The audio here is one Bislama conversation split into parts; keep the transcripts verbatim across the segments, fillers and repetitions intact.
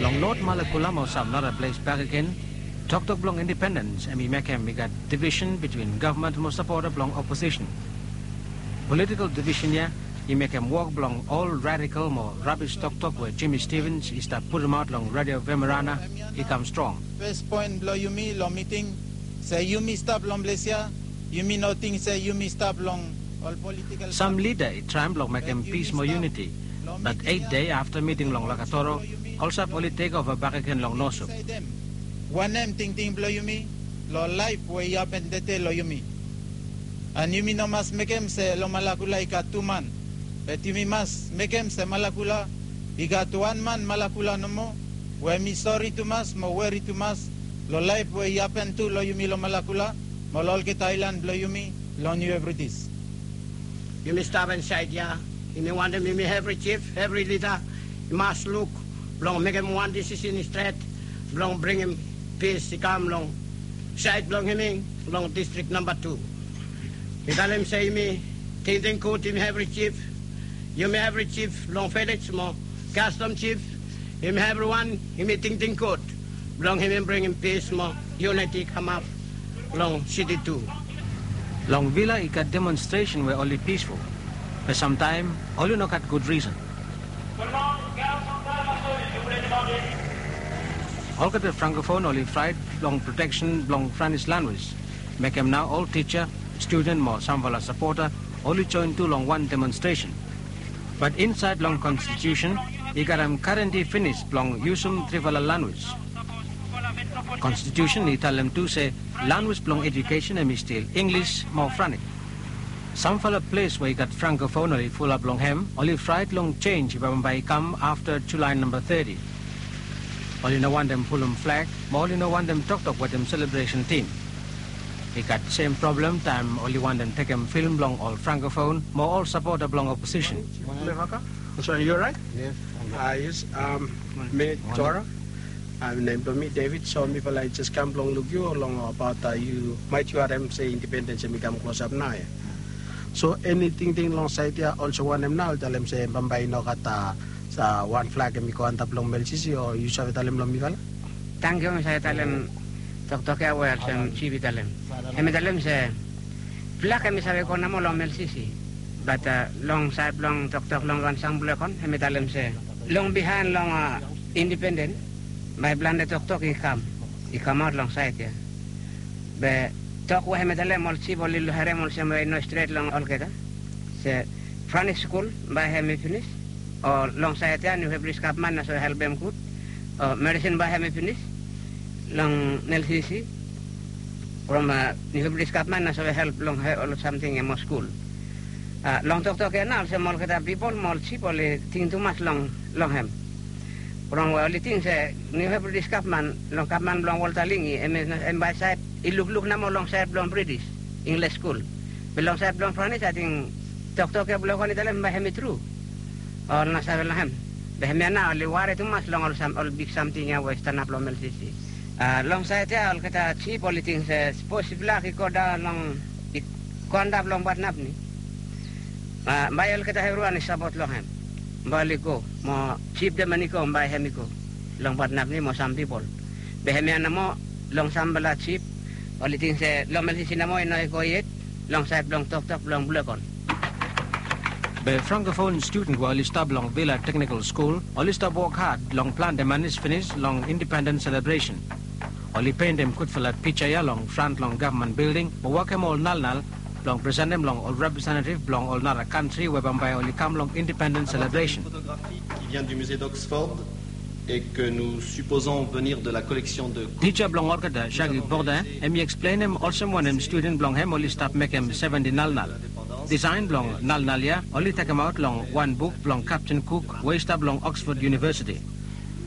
Long North Malakula mo sam nara ples bakegen, toktok blong independens hemi mekem i gat divisen bitwin gavman mo sapota blong oposisen. Politikol divisen ya i mekem wok blong ol radikol mo rabis toktok we Jimmy Stevens i stap putumaot long Radio Vemerana i kam strong. Fes poen blong yumi long miting se yumi stap long ples ya, yumi no ting se yumi stap long ol politikol. Sam lida i traem blong mekem pis mo yuniti, bat eit dei afta miting long Lakatoro, Olsap oli tekova bakegen long Nosup. Wanem tingting blong yumi long laef we i hapen tede long yumi? An yumi no mas mekem se long Malakula i gat tu man, bat yumi mas mekem se Malakula i gat wan man Malakula nomo, we mi sori tumas mo weri tumas long laef we i hapen tu long yumi long Malakula mo long olgeta aelan blong yumi long Niu Hebridis. Yumi stap insaed ya, yumi wantem yumi evri jif, evri lida i mas luk blong mekem wan disisen i stret blong bringim pis i kam long saed blong yumi long distrik namba tu. Mi talem se yumi tingting gud, yumi evri jif, yumi evri jif long vilej mo kastom jif, yumi evriwan yumi tingting gud blong yumi bringim pis mo yuniti i kamap long siti tu. Long Vila i gat demonstresen we oli pisful, be samtaem oli no gat gud risen. Olgeta Frankofon oli fraet long proteksen blong Franis lanwis, mekem nao ol tija, studen mo samfala sapota oli joen tu long wan demonstresen. Bat insaed long konstitusen i gat hem garanti finis blong yusum trifala lanwis. Konstitusen i talem tu se lanwis blong ejukesen hemi stil Inglis mo Franik. Samfala ples we i gat Frankofon oli fulap long hem oli fraet long jenj we bambae i kam afta Julae namba teti. Oli no wantem pulum flag mo oli no wantem toktok wetem selebresen tim. I gat sem prablem taem oli wantem tekem film blong ol Frankofon mo ol sapota blong oposisen. Levaka? So you're right? Yes. Ah, yes. Um, mi Tora. Ah, nem blong mi David. So mifala i jes kam blong luk yu long abaot, ah, yu maet yu harem se independens hemi kam klosap nao ya. So eni tingting long saed ya, olsem wanem nao, talem se bambae i no gat, ah, sa wan flag hemi go antap long Melsisi, o yu save talem long mifala? Tangkiu, mi save talem toktok ya we olsem jif i talem. Hemi talem se flag hemi save go nomo long Melsisi. Bat, ah, long saed blong toktok long wan sam blong Blekon, hemi talem se long bihaen long, ah, independens, bae plante toktok i kam, i kamaot long saed ya. Be tok we hemi talem ol jif oli harem olsem we i no stret long olgeta. Se Franis skul bae hemi finis, o long saed ya Niu Hebridis gavman nao save helpem gud, o medisin bae hemi finis long Melsisi from, ah, Niu Hebridis gavman nao save help long he-, ol samting ya mo skul. Ah, long toktok ya nao olsem olgeta pipol mo ol jif oli ting tumas long, long hem. From we oli ting se Niu Hebridis gavman, long gavman blong Walter Lingi, hem, hem bae saed i lukluk nomo long saed blong British English School. Be long saed blong Franis, ating toktok ya blong Blekon i talem bae hemi tru. Ol no save long hem. Be hemia nao oli wari tumas long ol sam, ol big samting ya we i stanap long Melsisi. Ah, long saed ya olgeta jif oli ting se sapos flag i go daon long, i go antap long Badnapni, ah, bae olgeta evriwan i sapot long hem. Bae oli go mo jif deman i go, bae hem i go long Badnapni mo sam pipol. Be hemia nomo, long samfala jif oli ting se long Melsisi nomo i no i go yet, long saed blong toktok blong Blekon. Be Frankofon studen we oli stap long Vila Teknikol Skul oli stap wok had long plante manis finis long independens selebresen. Oli pentem gudfala pija ya long fran long gavman bilding mo wokem ol nalnal blong presentem long ol representetiv blong ol nara kantri we bambae oli kam long independens selebresen. Photographique qui vient du musée d'Oxford et que nous supposons venir de la collection de Tija blong olgeta, Shaggy Bordin, hem i eksplenem olsem wanem studen blong hem oli stap mekem seventi nalnal. Disaen blong nalnal ya oli tekemaot long wan buk blong Captain Cook we i stap long Oxford University.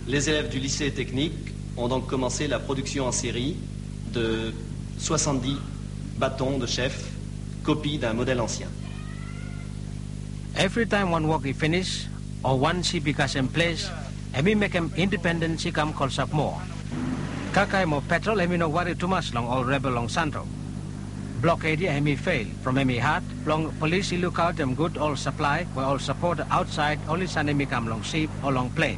Les élèves du lycée technique ont donc commencé la production en série de soixante-dix bâtons de chef, copie d'un modèle ancien. Evritaem wan wok i finis o wan sip i kasem ples, hem i mekem independens i kam klosap moa. Kakae mo petrol hem i no wari tumas long ol rebel long Santo. Bloked ya hem i fel from hem i had blong polis i lukaotem gud ol saplae we ol sapota aotsaed oli sanem i kam long sip o long plen.